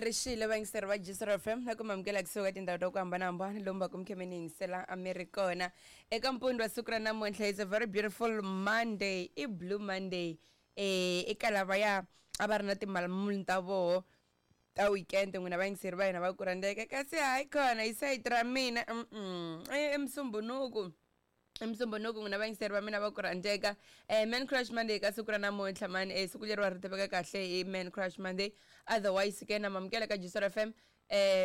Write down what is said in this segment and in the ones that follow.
Rixile vayingiseri va Jisr FM na ku mi amukela kusuka tindhawu ta ku hambanahambana lomu va ku mi khe mi ni yingisela a mi ri kona eka mpundzu wa siku ra namuntlha. It's a very beautiful Monday, i Blue Monday. Eka lavaya a va ri na timalamula ta voho ta weekend, n'wina vayingiseri va hina va ku rhandzeka, kasi hayi khona hi sayiti ra mina i Musumbunuku, i Musumbunuku. N'wina vayingiseri va mina va ku rhandzeka, Man Crush Monday ka siku ra namuntlha mani, siku leriwa ri tiveka kahle hi Man Crush Monday. Otherwise ke na mamukela ka Jisr FM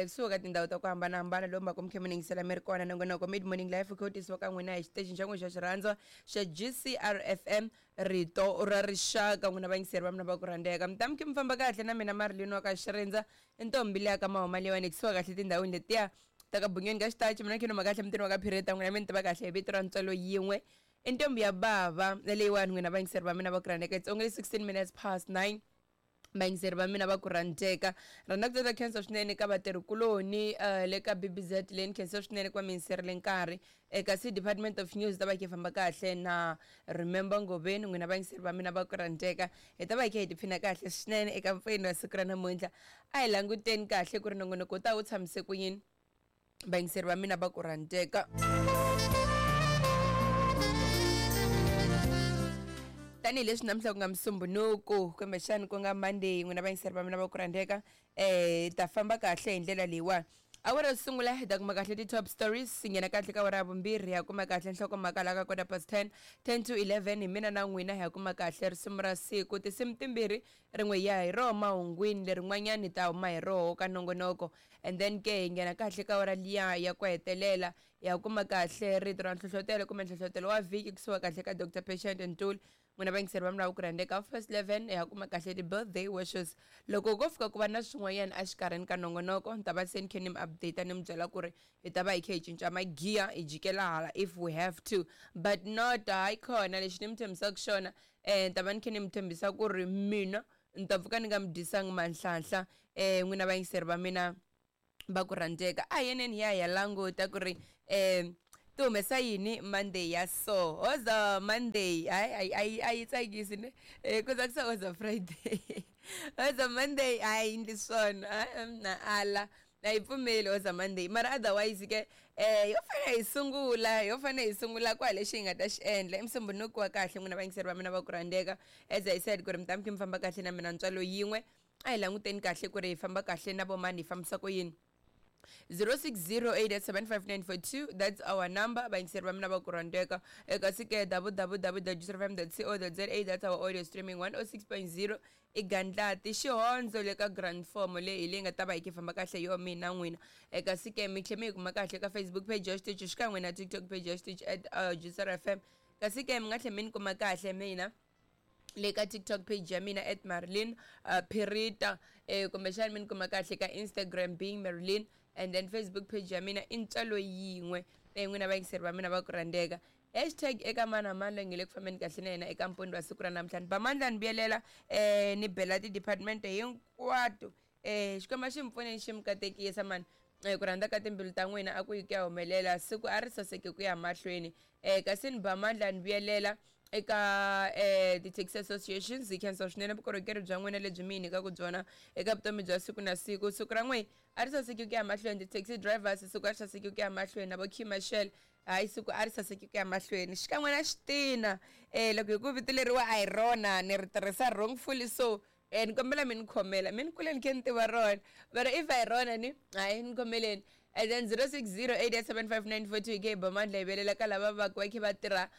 kusuka ka tindhawu ta ku hambanahambana lomu va ku mi khe mi ni yingisela mi ri kona. Nongonoko Mid Morning Life khe wu tisiwa ka n'wina hi xiteji xa n'wina xa xirhandzwa xa GCR FM, rito ra rixaka. N'wina vayingiseri va mina va ku rhandzeka, mi ta mi khe mi famba kahle na mina Marilyn wa ka Xirindza, i ntombi leya ka mahuma leyiwani kusuka kahle tindhawini letiya ta ka Bunyoni ka Xitachi. Mina khe noma kahle mutini wa ka Phireta, n'wina mi ni tiva kahle hi vito ra Ntswalo Yin'we, i ntombi ya bava leyiwani. N'wina vayingiseri va mina va ku rhandzeka, it's only 16 minutes past 9. Vayingiseri va mina va ku rhandzeka, rhandza ku tsata khensa swinene ka vatirhikuloni le ka BBZ leyi ni khensa swinene ku va mi yingiserile nkarhi eka c Department of News, ta va khe famba kahle na Remember Ngoveni. N'wina vayingiseri va mina va ku rhandzeka, hi ta va hi khe hi tiphina kahle swinene eka mpfeni wa siku ra namuntlha. A hi languteni kahle ku ri nongonoko wu ta wu tshamise ku yini. Vayingiseri va mina va ku rhandzeka, tanihileswi namuntlha ku nga Musumbunuku, kumbexani ku nga Monday, n'wina vayingiseri va mina va ku rhandzeka, ta famba kahle hi ndlela leyiwani. Awara yo sungula hi ta kuma kahle ti-top stories, hi nghena kahle ka awara ya vumbirhi, hi ya kuma kahle nhlokomhaka laha ka quarter past 10, 10 to 11 hi mina na n'wina hi ya kuma kahle risimu ra siku, tinsimu timbirhi, rin'we hi ya hi roho mahungwini, lerin'wanyani hi ta huma hi roho ka nongonoko. And then ke hi nghena kahle ka awara liya ya ku hetelela, hi ya kuma kahle rito ra nhlohlotelo kumbe nhlohlotelo wa vhiki kusuka kahle ka Dr Patient Ntuli. N'wina vayingiseri va mina va ku rhandzeka, half past 11 hi ya kuma kahle ti-birthday wishes. Loko ko fika ku va na swin'wanyana exikarhini ka nongonoko, ni ta va se ni khe ni mi update, ni mi byela ku ri hi ta va hi khe hi cinca magiya, hi jikela hala if we have to, but not hayi khona. Lexi ni mi tshembisaka xona, ni ta va ni khe ni mi tshembisa ku ri mina ni ta pfuka ni nga mi dyisangi manhlanhla. N'wina vayingiseri va mina va ku rhandzeka, a hi yeneni hi ya hi ya languta ku ri ti humesa yini Monday ya so. Hoza Monday, hayi, a yi tsakisi ne, ku tsakisa hoza Friday, hoza Monday a yi endli swona, na ala a yi pfumeli hoza Monday. Mara otherwise ke yo fanele hi sungula, yo fanele hi sungula kwa lexi hi nga ta xi endla i Musumbunuku wa kahle. N'wina vayingiseri va mina va ku rhandzeka, as I said ku ri mi ta mi khe mi famba kahle na mina Ntswalo Yin'we, a hi languteni kahle ku ri hi famba kahle na vomani, hi fambisa ku yini. 0608875942, that's our number, vayingiseri va mina va ku rhandzeka. Kasi ke www.fm.co.za, that's our audio streaming. 106.0 i Gandlati Xihondzo le ka Grand Form, leyi hi leyi nga ta va hi khe famba kahle yo mina n'wina. Kasi ke mi tlhe mi yi kuma kahle ka Facebook page ya xitichi xikan'we na TikTok page ya xitichi at Juicer FM. Kasi ke mi nga tlhe mi ni kuma kahle mina le ka TikTok page ya mina at Marilyn Phirita, kumbexana mi ni kuma kahle ka Instagram being Marilyn, and then Facebook page ya mina i Ntswalo Yin'we. N'wina vayingiseri va mina va ku rhandzeka, hashtag eka mani na mani loyi nge le ku fambeni kahle na yena eka mpundzu wa siku ra namuntlha. Ni ba mandla, ni vuyelela, ni bela ti-department hinkwato. Xikwembu xi mi pfuneni, xi mi katekisa mani. Ku rhandza ka timbilu ta n'wina a ku yi ku ya humelela, siku a ri saseke ku ya mahlweni. Kasi ni ba mandla, ni vuyelela eka ti-taxi associations, hi khensa swinene vukorhokeri bya n'wina lebyi mi hi nyikaka byona eka vutomi bya siku na siku. Siku ra n'wina a ri saseki ku ya mahlweni. Ti-taxi drivers, siku a ri saseki ku ya mahlweni. Na vo Kimashel, hayi, siku a ri saseki ku ya mahlweni. Xikan'we na xitina, loko hi ku vito leriwa a hi rona, ni ri tirhisa wrongfully, so ni kombela mi ni khomela, mi ni kule ni khe ni tiva rona, mara if a hi rona ni hayi ni khomeleni. And then 0608875942 hi khe hi ba mandla, hi velela ka lava va va khe va tirha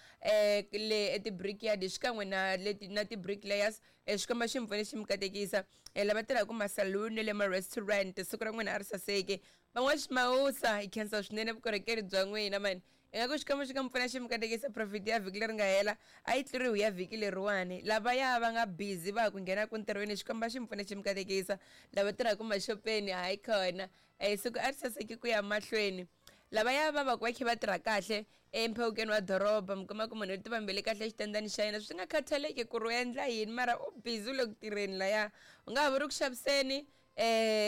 le eti-brickyard xikan'we na leti na ti-bricklayers. Xikwembu xi mi pfune, xi mi katekisa. Lava tirhaka masaluni le ma-restaurant, siku ra n'wina a ri saseki. Van'waximawusa, hi khensa swinene vukorhokeri bya n'wina mani. Ingaku Xikwembu xi nga mi pfuna, xi mi katekisa. Profit ya vhiki leri nga hela a yi tluriwi ya vhiki leriwani. Lavaya va nga busy va ha ku nghena ku ntirhweni, Xikwembu a xi mi pfune, xi mi katekisa. Lava tirhaka maxopeni, hayi khona, siku a ri saseki ku ya mahlweni. Lavaya va va ku va khe va tirha kahle emphewukeni wa doroba, mi kuma ku munhu u tivambele kahle xitandani xa yena, swi nga khathaleki ku ri u endla yini, mara u busy u le ku tirheni laya, u nga ha vuri ku xaviseni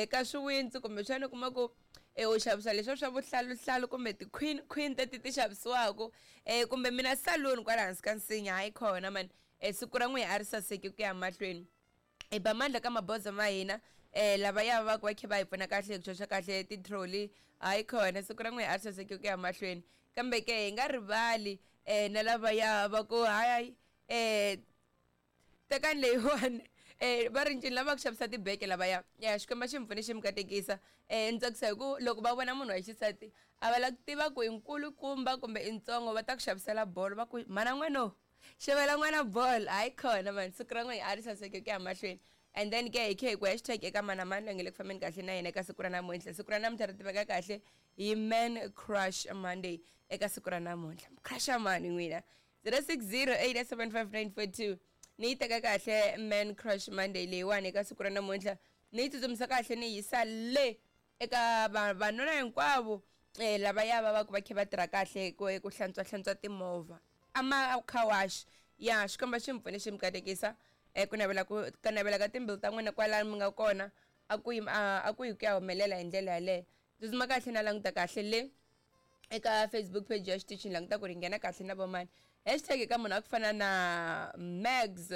ka swiwintsi, kumbexana u kuma ku u xavisa leswiya swa vuhlaluhlalu kumbe ti-queen queen teti ti xavisiwaka, kumbe mina saluni kwala hansi ka nsinya, hayi khona mani, siku ra n'wina a ri saseki ku ya mahlweni. Hi ba mandla ka maboza ma hina. Lavaya va ku va khe va hi pfuna kahle hi ku xoxa kahle ti-trolley, hayi khona siku ra n'wina a ri saseki ku ya mahlweni. Kambe ke hi nga rivali na lavaya va ku hayi tekani leyiwani va ri ncini lava ku xavisa tibeke lavaya ya Xikwembu xi mi pfune xi mi katekisa. Ni tsakisa hi ku loko va vona munhu wa xisati a va lava ku tiva ku i nkulukumba kumbe i ntsongo, va ta ku xavisela bolo, va ku mhana n'wano xavela n'wana bolo. Hayi khona mani, siku ra n'wina a ri saseke ku ya mahlweni. And then ke hi khe hi ku hashtag eka mana mani loyi nge le ku fambeni kahle na yena eka siku ra namuntlha. Siku ra namuntlha ri tiveka kahle hi Man Crush Monday. Eka siku ra namuntlha crusha mani n'wina? 06087594 ni yi teka kahle Man Crush Monday leyiwani eka siku ra namuntlha, ni yi tsutsumisa kahle ni yisa le eka vanuna hinkwavo lavaya va va ku va khe va tirha kahle ku hlantswa hlantswa timovha ama car wash ya. Xikwembu xi mi pfune xi mi katekisa. Ku navela ku ka navela ka timbilu ta n'wina kwalano mi nga kona a ku yi a ku yi ku ya humelela hi ndlela yaleyo. Tsutsuma kahle na languta kahle le eka Facebook page ya xitichini, languta ku ri nghena kahle na vomani. Hashtag eka munhu a ku fana na Mags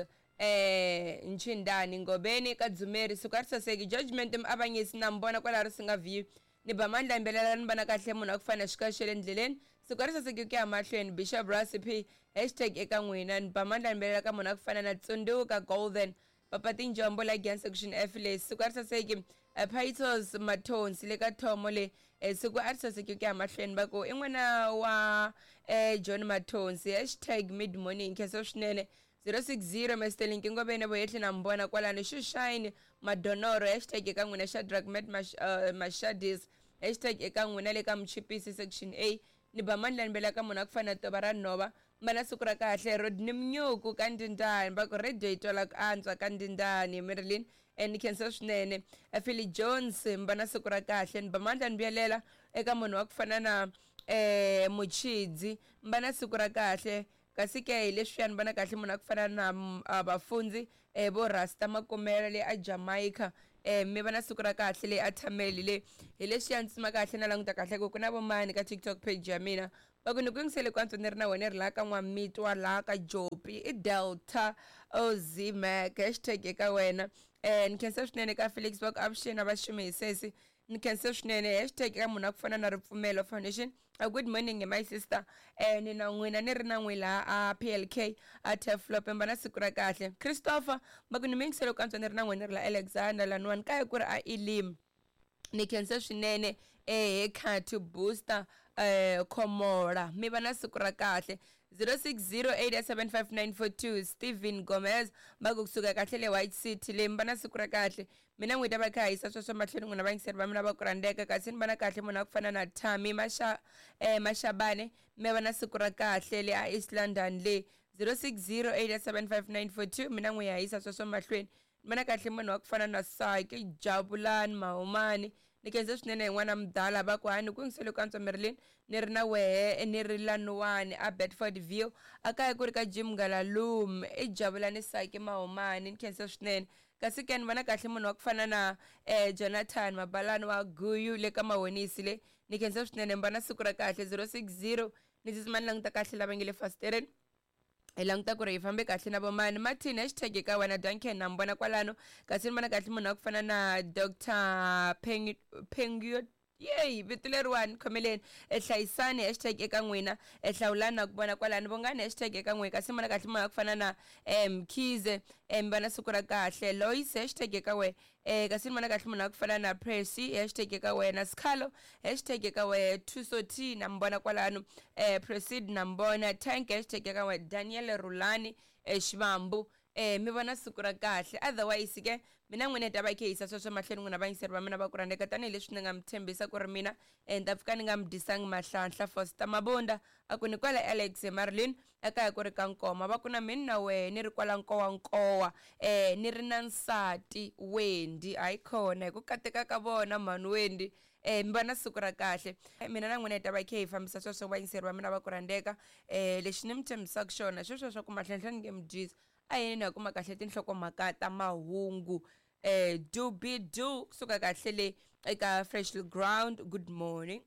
Nchindani Ngobeni ka Dzumeri, siku a ri saseki. Judgment Muavanyisi na mi vona kwalaho ri singa view ni ba mandla yimbelela ni vona kahle munhu a ku fana xika xa le ndleleni, siku a ri saseki ku ya mahlweni. Bishop Recipe, hashtag eka n'wina. Ni ba mandla yimbelela ka munhu a ku fana na Tsundzuka Golden Papa Tinjombo la Gian section F le, siku a ri saseki. Pitos Mathonsi le ka Thomo le, siku a ri saseki ku ya mahlweni. Va ku i n'wana wa John Mathonsi, hashtag mid morning khensa swinene. 060 Mr Ngoveni Voyehle na mbona kwalano. Xushine Madonoro, hashtag eka n'wina. Shadrack Met Mashadis, hashtag eka n'wina le ka Muchipisi section A. Ni ba mandla ni bela ka munhu a ku fana na tova ra nhova mana, siku ra kahle. Rodney Mnyuku ka Ndindani, va ku radio yi twala ku antswa ka Ndindani. Marilyn, ni khensa swinene. Philly Jones, mbana siku ra kahle. Ni ba mandla ni vuyelela eka munhu wa ku fana na Muchidzi, mbana siku ra kahle. Kasi ke hi leswiya ni vona kahle munhu a ku fana na vafundzi vo Rasta Makumela le a Jamaica, mi va na siku ra kahle le a Thameli le. Hi leswiya ni tsima kahle na languta kahle ku ku na vomani ka TikTok page ya mina. Va ku ni ku yingisele ku antswa ni ri na wena ri laha ka N'wamitwa laha ka Jopi i Delta Oz Mac, hashtag eka wena. Ni khensa swinene ka Felix, va ku avuxeni a va xumi hi sesi, ni khensa swinene. Hashtag eka munhu a ku fana na Ripfumelo Foundation. Good morning my sister, ni na n'wina ni ri na n'wi laha a PLK a Teflop, mba na siku ra kahle. Christopher, va ku ni mi yingisele ku antswa ni ri na n'wina ri la Alexander laniwani kaya ku ri a Elim, ni khensa swinene. Khat Booster Khomola, mi va na siku ra kahle. 06087594 Steven Gomez, va ku kusuka kahle le White City le, mi va na siku ra kahle. Mina n'wi ta va kha hisa sweswo mahlweni n'wina vayingiseri va mina va ku rhandzeka. Kasi ni vona kahle munhu a ku fana na Tami Mashabane, mi va na siku ra kahle le a East London le. 06087594 mina n'wi ya hisa sweswo mahlweni. Ni vona kahle munhu wa ku fana na Saki Jabulani Mahumani, ni khense swinene. Hi n'wana mudala, va ku hani ku yingisele ku antswa Marilyn ni ri na wehe ni ri lanuwani a Bedford View a kaya ku ri ka Jim Ngalalum i Jabulani Saki Mahumani, ni khense swinene. Kasi ke ni vona kahle munhu wa ku fana na Jonathan Mabalani wa Guyu le ka Mahonisi le, ni khensa swinene, mi va na siku ra kahle. 060 ni tsutsuma ni languta kahle lava nge le fasitereni, hi languta ku ri hi fambe kahle na vomani. Martin, hashtag eka wena. Duncan na mi vona kwalano. Kasi ni vona kahle munhu wa ku fana na Dr Pengio, yeyi vito leriwani khomeleni. Hlayisani, hashtag eka n'wina. Hlawulani na ku vona kwalano. Vongani, hashtag eka n'wina. Kasi ni vona kahle munhu wa ku fana na Mkhize, mi va na siku ra kahle. Lois, hashtag eka wena. Kasi ni vona kahle munhu wa ku fana na Pressy, hashtag eka wena. Sikhalo, hashtag eka wena. Thuso T na mi vona kwalano. Proceed na mi vona. Tank, hashtag eka wena. Daniel Rulani Xivambu, mi vona siku ra kahle. Otherwise ke mina n'wina hi ta va hi khe hi yisa sweswo mahlweni n'wina vayingiseri va mina va ku rhandzeka, tanihileswi ni nga mi tshembisa ku ri mina ni ta pfuka ni nga mi dyisangi mahlanhla. Foster Mabunda a ku ni kwala Alex Marilyn ekaya ku ri ka Nkoma, va ku na mina na wehe ni ri kwala Nkowankowa ni ri na nsati Wendy. Hayi khona hi ku kateka ka vona mhani Wendy, mi va na siku ra kahle. Mina na n'wina hi ta va hi khe hi fambisa sweswo vayingiseri va mina va ku rhandzeka. Lexi ni mi tshembisaka xona sweswo swa ku mahlanhla ni nge mi dyisi, a yini hi kuma kahle tinhlokomhaka ta mahungu do be do kusuka kahle le eka Freshly Ground. Good morning.